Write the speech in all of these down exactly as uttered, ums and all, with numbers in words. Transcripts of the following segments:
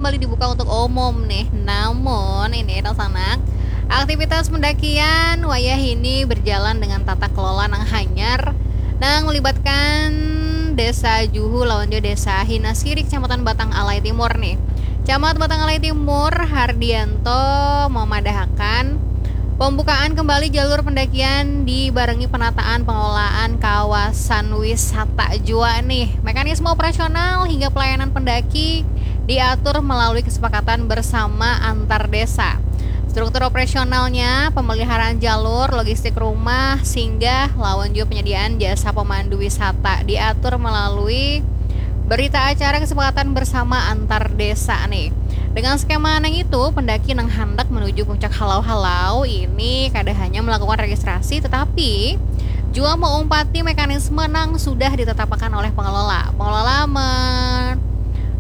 kembali dibuka untuk umum nih. Namun ini dangsanak, aktivitas pendakian wayah ini berjalan dengan tata kelola nang hanyar, nang melibatkan Desa Juhu lawan jua Desa Hinaskiri, Kecamatan Batang Alai Timur nih. Camat Batang Alai Timur, Hardianto, memadahakan pembukaan kembali jalur pendakian dibarengi penataan pengelolaan kawasan wisata jua nih. Mekanisme operasional hingga pelayanan pendaki diatur melalui kesepakatan bersama antar desa. Struktur operasionalnya, pemeliharaan jalur, logistik rumah, singgah, lawan juga penyediaan jasa pemandu wisata diatur melalui berita acara kesepakatan bersama antar desa nih. Dengan skema nang itu, pendaki nang handak menuju puncak halau-halau ini kada hanya melakukan registrasi, tetapi jua meumpati mekanisme nang sudah ditetapkan oleh pengelola. Pengelola men,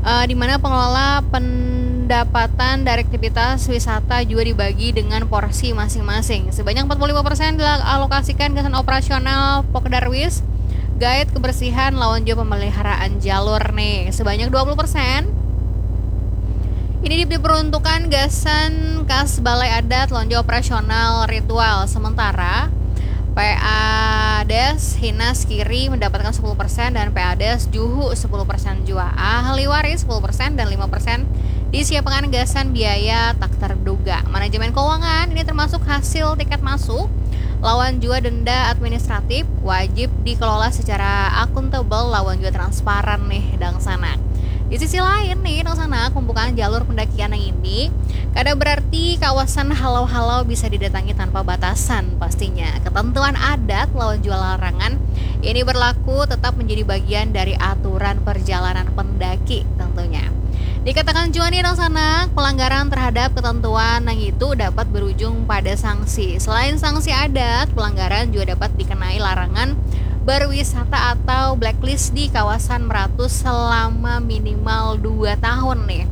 eh, di mana pengelola pendapatan dari aktivitas wisata juga dibagi dengan porsi masing-masing. Sebanyak empat puluh lima persen dialokasikan gasan operasional Pokdarwis, guide kebersihan lawan juga pemeliharaan jalur nih. Sebanyak dua puluh persen ini diperuntukkan gasan kas balai adat lawan juga operasional ritual. Sementara P A Des Hinas Kiri mendapatkan sepuluh persen dan P A Des Juhu sepuluh persen jua. Ahli waris sepuluh persen dan lima persen disiapkan gasan biaya tak terduga. Manajemen keuangan ini termasuk hasil tiket masuk lawan jua denda administratif wajib dikelola secara akuntabel lawan juga transparan nih dangsanak. Di sisi lain nih dangsanak, pembukaan jalur pendakian yang ini kada berarti kawasan halau-halau bisa didatangi tanpa batasan. Pastinya ketentuan adat lawan jua larangan ini berlaku tetap menjadi bagian dari aturan perjalanan pendaki tentunya. Dikatakan jua nih dangsanak, pelanggaran terhadap ketentuan nang itu dapat berujung pada sanksi. Selain sanksi adat, pelanggaran juga dapat dikenai larangan berwisata atau blacklist di kawasan Meratus selama minimal dua tahun nih.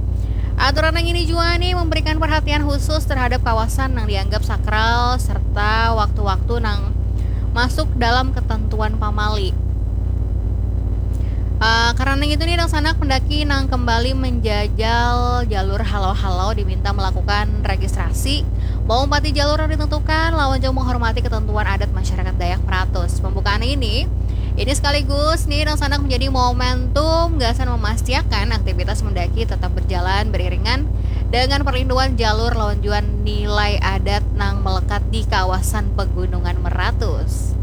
Aturan yang ini jua nih memberikan perhatian khusus terhadap kawasan yang dianggap sakral serta waktu-waktu nang masuk dalam ketentuan pamali. Uh, karena itu nih dangsanak, pendaki nang kembali menjajal jalur halau-halau diminta melakukan registrasi, meumpati jalur yang ditentukan, lawan jauh menghormati ketentuan adat masyarakat Dayak Meratus. Pembukaan ini ini sekaligus nih dangsanak menjadi momentum gasan memastikan aktivitas mendaki tetap berjalan beriringan dengan perlindungan jalur lawan jua nilai adat nang melekat di kawasan pegunungan Meratus.